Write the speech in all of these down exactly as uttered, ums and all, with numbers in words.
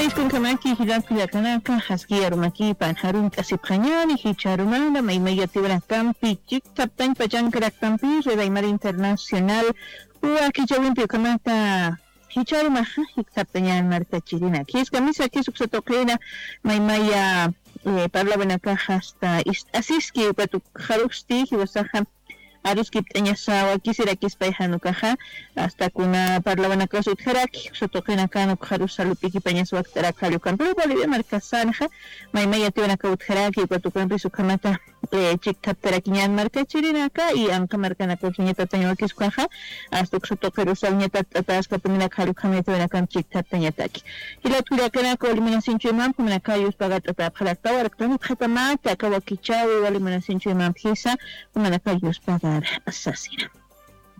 Iskunkamaki jilat kullakanaka, jaski arumakipan jarunt'asipxañani, jichharumana maymaya tiwanakampi chikthaptañ pachankraktampi Red Aymara Internacional wakichawimpi ukamata jichharumaxa jikthaptañan markachirinak. Jiskamisa jisuksa tuqina maymaya, eh, parlawanakaxa asta ist'asiski ukat ukxarusti jiwasaxa aruskipt'añasa wakisirakispa jan ukaxa, asta kuna parlawanakas utjaraki, uksa tuqinakan ukxarus salupikipañas wakt'arak jall ukampi, pero Bolivia markasanxa maymaya tiwanaka utjaraki, ukat ukampis ukhamata, eh, chikthaptarakiñan markachirinaka, y anqa markanakasañatatañ wakis ukaxa, asta uksa tuqirusañatat t'ataskapuniraka jall ukhamaya tiwanakampi chikthaptañataki. Jilat kullakanaka, wali munasinchuymampi jumanaka yuspagart'atäpxarakta, warkt'anipxatamata aka wakichäwi, wali munasinchuymampi jisa, jumanaka yuspagar sasina.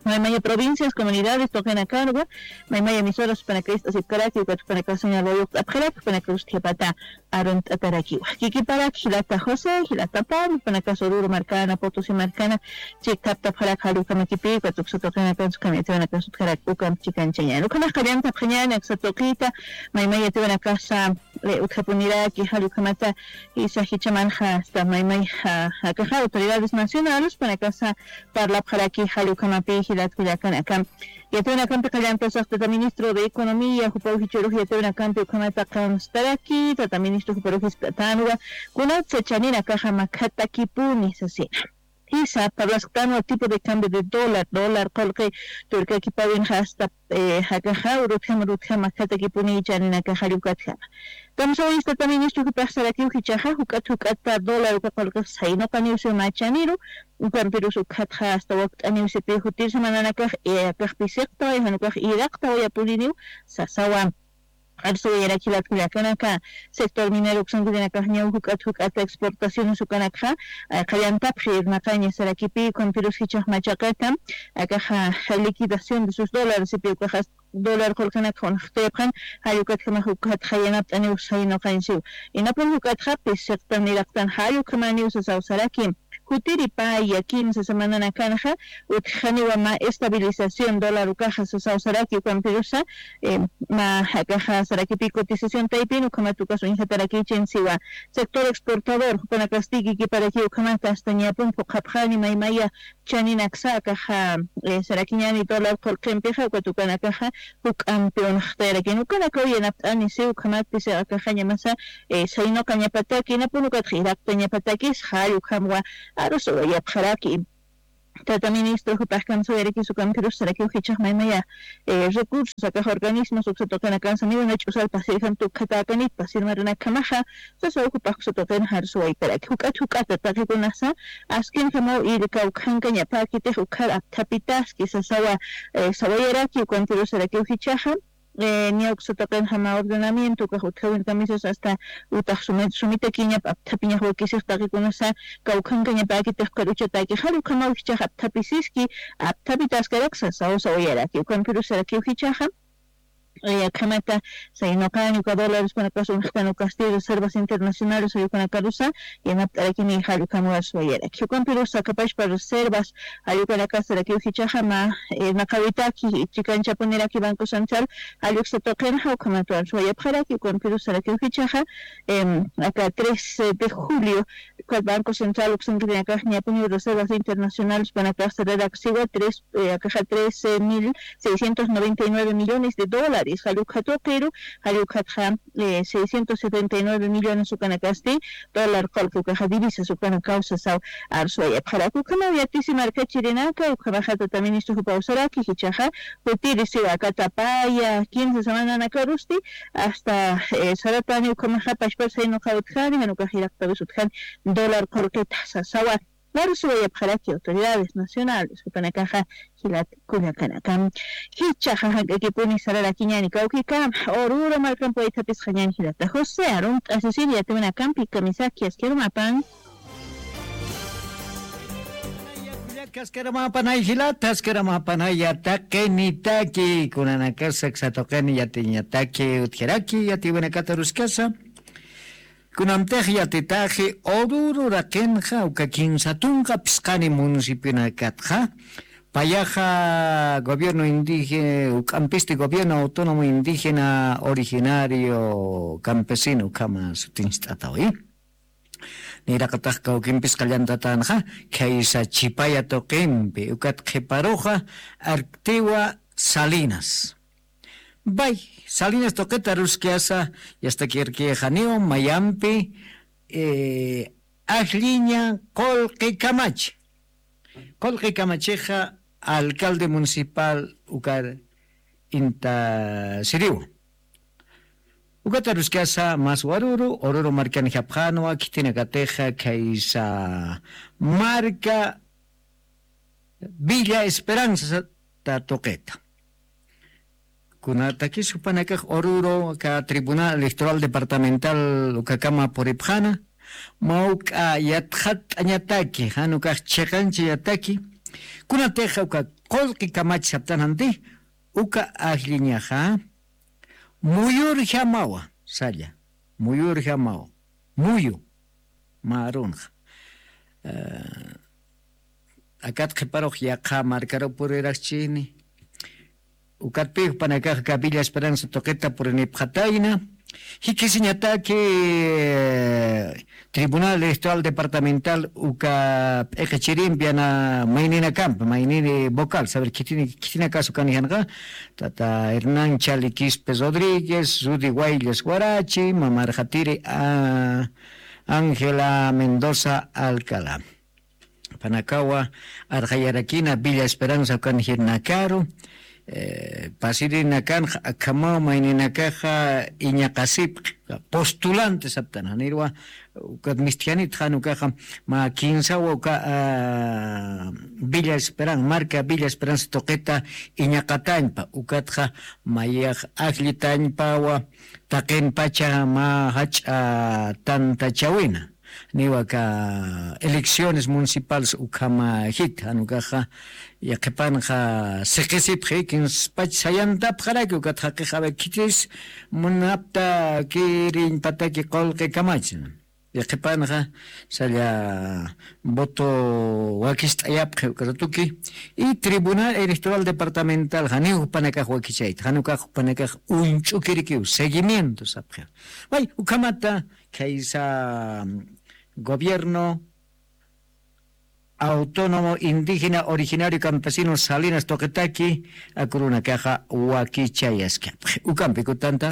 Maymaya provincias, comunidades tuqinakarwa, maymaya emisoras jupanaka ist'asipkaraki, ukat jupanaka señal wayuqt'apxaraki, jupanaka ust'apata arunt'atarakiwa. Kikiparaki jilata José, jilata Pablo, jupanaka Oruro markana, Potosí markana, chikthaptapxaraki jall ukhamakipi, ukat uksa tuqinakan sukhamaya tiwanaka sutjaraki ukamp chikanchañan. Ukhamax qallantapxañan aksa tuqita, maymaya tiwanakasa, eh, utjapuniraki, jall ukhamata, jisa jichhamanxa asta maymaya, akaxa autoridades nacionales jupanakasa parlapxaraki jall ukhamapi jilat kullakanaka. Yatiwanakampi qallantasa tata ministro de Economía, jupaw jichhürux yatiwanakampi ukhamata qamstaraki, tata ministro juparux jisk'atanwa, kunatsa chaninakaxa makhatakipuni sasina. Jisa, parlasktanwa tipo de cambio de dólar, dólar qullqi turkakipawinxa asta, eh, jakaxa, urutjama, urutjama makhatakipuni chaninakaxa jall ukatjama. Kamsawayista tata ministro jupax sarakiw jichhaxa, juk'at, juk'ata dólar uka qullqix saynuqaniwsiw mä chaniru, ukampirus ukhatxa asta wakt'aniwsipi jutir semananakax, eh, akax pisiqtaway, jan ukax iraqtawayapuriniw sasawa. Arsuwayaraki jilat kullakanaka, sector minero uksankirinakax ñaw juk'at juk'at exportaciones ukanakxa, eh, qallantapxi irnaqaña sarakipi, ukampirus jichhax machaqatam, akaxa liquidación de sus dólares, ipi ukaxa dólar qullqinakxa unxtayapxan, jall ukatjamax ukatxa yanapt'aniw saynuqañsiw. Inapun juk'atxa pisiqtan iraqtan jall ukhamaniw sasaw saraki. Jutiri paya kimsa semananakanxa utjaniwa mä estabilización dólar ukaxa sasaw saraki, ukampirusa, eh, mä jakaxa sarakipi cotización taypin ukhamat ukas uñjatarakichin siwa. Sector exportador jupanakasti kikiparakiw ukhamata asta ñapun phuqhapxani maymaya chaninaksa akaxa, eh, sarakiñani dólar qullqimpixa, ukat ukanakaxa juk'ampi unxtayarakin. Ukanakaw yanapt'ani siw ukhamatpis akaxañamasa, eh, saynuqañapataki, inapun ukatxa iraqtañapatakis jall ukhamwa arusuwayapxaraki. Tata ministro jupax kamsawayarakis ukampirus sarakiw jichhax maymaya, eh, recursos akax organismos uksa tuqinakansa miwna ch'usar pasirjam tukjatäkanit pasir maranakhamaxa, sasaw jupax uksa tuqin arsuwayparaki. Juk'at juk'ata taqikunasa askinjamaw irkaw khankañapäkitix ukhar apthapitaski sasawa, eh, sawayaraki ukampirus sarakiw jichhaxa, eh, niya uksa tuqinxa mä ordenamiento ukax utjawin kamisas asta utax sumi-, sumitakiñap apthapiñax wakisix taqikunasa kawkhankañapäkitix ukhar uchatäki jall ukhamaw jichhax apthapisiski, apthapitaskaraksa saw sawayaraki ukampirus sarakiw jichhaxa, eh, akhamata saynuqañ uka dólares jupanakax unxtan ukasti reservas internacionales jall ukanakarusa yanapt'arakini jall ukhamaw arsuwayaraki. Ukampirus akapachpa reservas jall ukanakasarakiw jichhaxa mä, eh, naqawitaki chikanchapuniraki Banco Central jall uksa tuqinxa ukhamat arsuwayapxaraki. Ukampirus sarakiw jichhaxa, em, aka tres de julio, ukat Banco Central uksankirinakax ñapuniw reservas internacionales jupanakax sararaksiwa tres, eh, akaxa trece mil seiscientos noventa y nueve millones de dólares jall ukxa tuqiru, jall ukxatxa, eh, seiscientos setenta y nueve millones ukanakasti dólar qullqi ukaxa divisas ukanakaw sasaw arsuwayapxaraki. Ukhamaw yatisi markachirinaka, ukhamaxa tata ministro jupaw saraki jichhaxa, jutirisiwa aka tapaya kimsa semananakarusti asta, eh, saratani ukhamaxa pachpar saynuqaw utjani, jan ukax iraqtawis utjani dólar qullqita sasawa. Arsuwayapxaraki autoridades nacionales jupanakaxa jilat kullakanaka. Jichhaxa jank'akipuni sararakiñani kawkikama, Oruro markampi waythapisxañani jilata José, arunt'asisir yatiwanakampi kamisaki askharumapan. Askharumapanay jilata, askharumapanaya taqinitaki, kunanakas aksa tuqin yatiñataki utjaraki yatiwanakata aruskasa. Kunamtix yatitaxi Oruro uraqinxa uka kimsa tunka phisqani municipionakatxa, Payaxa gobierno indígena, uk'ampisti gobierno autónomo indígena originario campesino ukhama sutinchst'atawi. Niraqatax kawkimpis qallantatanxa, khaysa Chipaya tuqimpi, ukat qhiparuxa Arctiwa Salinas. Bay, Salinas tuqita ruskasa, yastakirkixaniw mayampi, eh, ajlliña Qullqi Kamach. Qullqi Kamachixa alcalde municipal ukar intasiriwa. Ukata ruskasa mas waruru, Oruro markanjapxanwa, khitinakatixa khaysa marka Villa Esperanza ta tuqita. Kunatakis jupanakax Oruro aka Tribunal Electoral Departamental ukakama puripxana, mawk'a yatxatt'añataki, jan ukax chiqanchayataki, kunatixa uka Qullqi Kamach saptananti, uka ajlliñaxa, muyurjamawa, salla, muyurjamawa, muyu, mä arunxa. Eh, akat qhiparux yaqha markaru puriraxchini. Ukatpï jupanakax aka Villa Esperanza tuqita purinipxatayna. Jikisiñataki, eh, Tribunal Electoral Departamental uka p'iqichirimpi ana mayninakampi, maynini vocal, saber khitini, khitinakas ukanixanxa, tata Hernán Chali Quispe Rodríguez, Rudy Guayllas Guarachi, mamarxatiri, ah, Ángela Mendoza Alcalá. Panakawa arxayarakina Villa Esperanza ukan jirnakaru, eh, pasirinakanxa akhamaw mayninakaxa iñaqasipxi, postulante saptan, janirwa ukat mistjanit jan ukaxa, mä kinsawa uka, ah, Villa Esperanza, marka Villa Esperanza tuqita iñaqatañpa, ukatxa mayax ajllitañpawa, taqinpacha mä jach'a tantachawina. Niwa aka elecciones municipales ukhama jit, jan ukaxa, yaqhipanxa siqisipxi, kinspach sayantapxaraki, ukat jaqix a ver khitis munapta kiriñpataki Qullqi Kamach. Yaqhipanxa, salla voto wakist'ayapxi uka ratuki, y Tribunal Electoral Departamental, janiw jupanakax wakichayta, jan ukax jupanakax uñch'ukirikiw, seguimiento sapxi. Way, ukhamata, khaysa, mm, gobierno autónomo indígena originario campesino Salinas tuqitaki, aka urunakaxa wakichayaskapxi. Ukampi kutanta.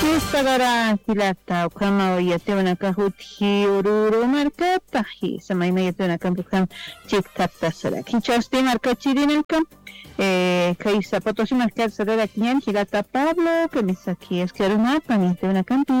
Fiesta Dora jilata, ukhama yatiwanakax utji Oruro markata, jisa mayma yatiwanakampi ukham chiktaptasaraki. Jichhasti markachirinaka, eh, khaysa Potosí markar sararakiñan jilata Pablo, kamisaki aski arunapan yatiwanakampi.